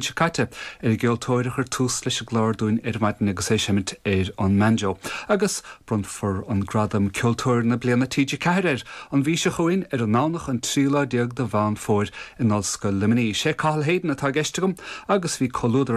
Seo caite, ar an gceoltóir a chuir tús leis an gclár dúinn ar maidin agus é ag seimint ar an mbanjo. Agus bronnfar an gradam Ceoltóir na Bliana TG4 air an mhí seo chugainn ar an nDomhnach an 13 lá de Mheán Fómhair in Ollscoil Luimnigh. Sé Cathal Hayden atá i gceist agam agus bhí comhluadar.